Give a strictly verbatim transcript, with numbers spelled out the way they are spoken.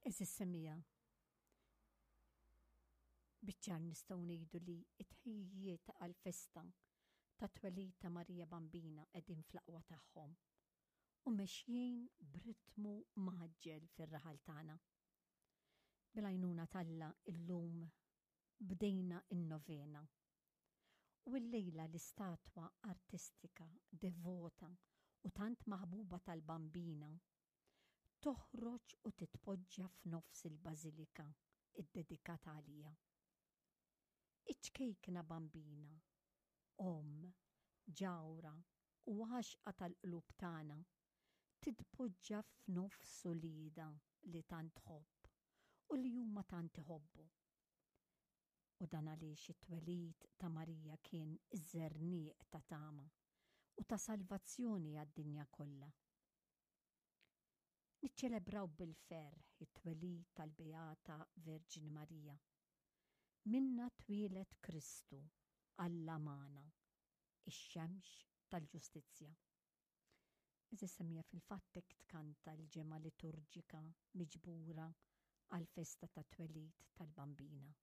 Għeżież semmiegħa, biċ-ċar nistgħu ngħidu li t-tħejjijiet għall-festa tat-twelid ta' Marija Bambina qegħdin fl-aqwa tagħhom u mexjin b'ritmu mgħaġġel fir-raħal tagħna. Bil-għajnuna t'Alla illum bdejna n-novena. U llejla l-istatwa artistika, devota u tant maħbuba tal-Bambina toħroġ u titpoġġa f'nofs il-bażilika iddedikata għalija. Iċ-ċkejkna Bambina, omm, ġawra u għaxqa tal-qlub tagħna, titpoġġa f'nofs uliedha li tant tħobb u li huma tant iħobbu. U dan għaliex it-twelid ta' Marija kien iż-żerniq ta' tama u ta' salvazzjoni għad-dinja kollha. Niċċelebraw bil-ferħ it-twelid tal-Beata Verġni Marija. Minna twieled Kristu, Alla magħna, ix-xemx tal-ġustizzja. Għeżież semmiegħa, fil-fatt hekk tkanta l-ġemgħa liturġika miġbura għall-festa tat-twelid tal-Bambina.